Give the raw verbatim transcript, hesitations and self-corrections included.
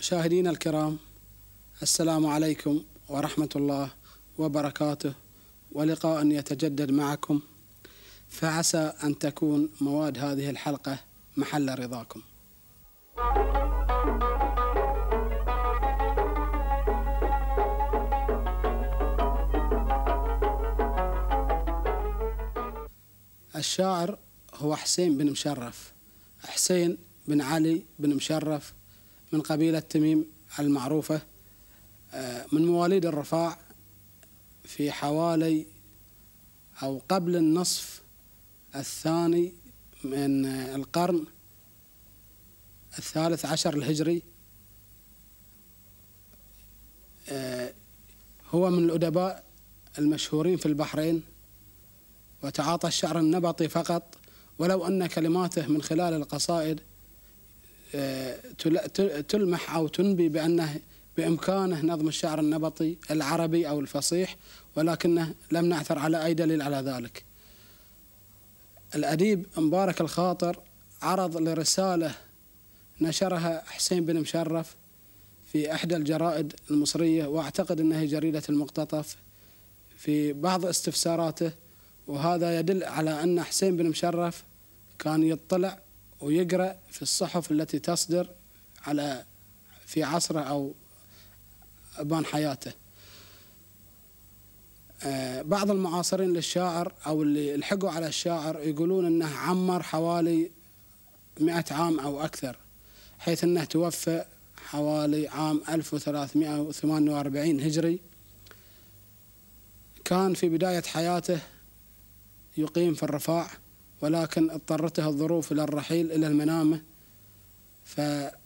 مشاهدينا الكرام، السلام عليكم ورحمة الله وبركاته، ولقاء يتجدد معكم، فعسى أن تكون مواد هذه الحلقة محل رضاكم. الشاعر هو حسين بن مشرف، حسين بن علي بن مشرف من قبيلة تميم المعروفة، من مواليد الرفاع في حوالي أو قبل النصف الثاني من القرن الثالث عشر الهجري. هو من الأدباء المشهورين في البحرين، وتعاطى الشعر النبطي فقط، ولو أن كلماته من خلال القصائد تلمح أو تنبي بأنه بإمكانه نظم الشعر النبطي العربي أو الفصيح، ولكنه لم نعثر على أي دليل على ذلك. الأديب مبارك الخاطر عرض لرسالة نشرها حسين بن مشرف في إحدى الجرائد المصرية، وأعتقد أنها جريدة المقتطف، في بعض استفساراته، وهذا يدل على أن حسين بن مشرف كان يطلع ويقرأ في الصحف التي تصدر على في عصره أو أبان حياته. بعض المعاصرين للشاعر أو اللي لحقوا على الشاعر يقولون أنه عمر حوالي مئة عام أو أكثر، حيث أنه توفى حوالي عام ألف وثلاثمئة وثمانية وأربعين هجري. كان في بداية حياته يقيم في الرفاع، ولكن اضطرته الظروف إلى الرحيل إلى المنامة، فأخذ